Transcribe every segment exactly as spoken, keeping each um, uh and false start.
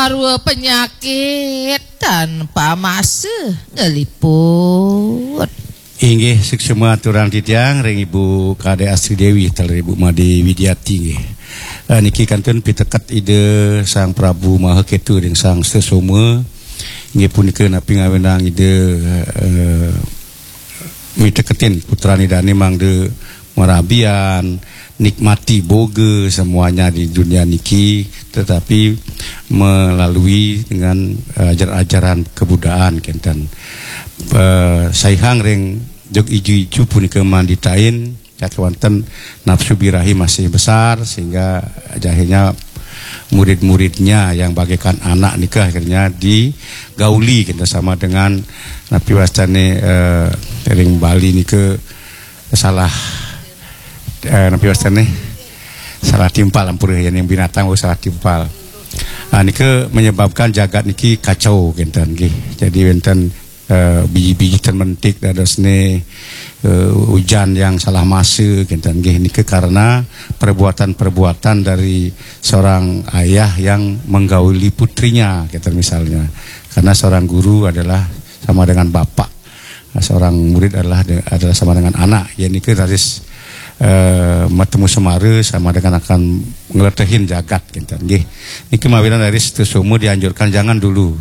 Arwa penyakit tanpa masa ngeliput. Inggih, suksma aturang titiang ring Ibu Kadek Astri Dewi, taler Ibu Made Widiati, nggih. Eh, niki kantun piteket Ida Sang Prabu Maha Ketu ring Sang Sesoma. Inggih punika napi ngawinang Ida, eh, miteketin putran Idane mangda marabian, nikmati boga semuanya di dunia niki, tetapi melalui dengan, eh, ajaran-ajaran kebudaan kenten. Eh, saihang ring jog iju-iju punika manditain, yak wonten nafsu birahi masih besar, sehingga akhirnya murid-muridnya yang bagaikan anak nika akhirnya digauli kenten sama dengan napi wastane, eh, ring Bali nika salah, eh, napi wastane salah timpal, ampura, yen yang binatang, oh, salah timpal. Ah, nika menyebabkan jagat niki kacau kenten nggih. Jadi wenten, eh, biji-biji ten mentik dadosne, eh, ujan yang salah masa kenten nggih. Nika karena perbuatan-perbuatan dari seorang ayah yang menggauli putrinya kenten misalnya. Karena seorang guru adalah sama dengan bapak. Seorang murid adalah de-, adalah sama dengan anak. Ya, niki raris, eh, matemu semara sama dengan akan ngletehin jagat kenten nggih. Niki mawinan raris Sesoma dianjurkan jangan dulu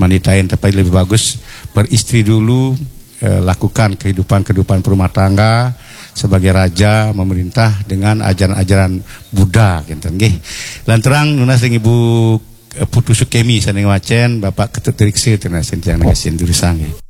manditain, tapi lebih bagus beristri dulu, eh, lakukan kehidupan-kehidupan berumah tangga sebagai raja memerintah dengan ajaran-ajaran Buddha kenten nggih. Lanturang nunas ring Ibu, eh, Putu Sukemi sane ngwacen, Bapak Ketut Riksa tunas ring titiang nangkis durusang nggih.